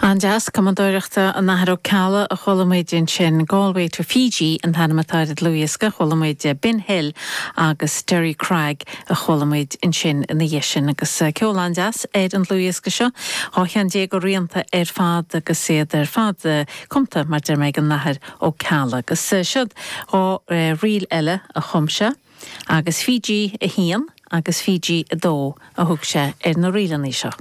An-deas, cumadóireachta an Athar Ó Ceallaigh a chuala muid ansin. Galway to Fiji an t-ainm atá ar an dlúthdhiosca. Chuala muid Bin Hill agus Derry Crag a chuala muid ansin ina dhiaidh sin. Agus ceol an-deas ar an dlúthdhiosca seo. 12 cheann de rianta ar fad agus iad ar fad cumta, mar deir mé, ag an Athair Ó Ceallaigh. Agus siod 2 ríl eile a chum sé agus Fiji 1 agus Fiji 2 a thug sé ar na ríleanna seo.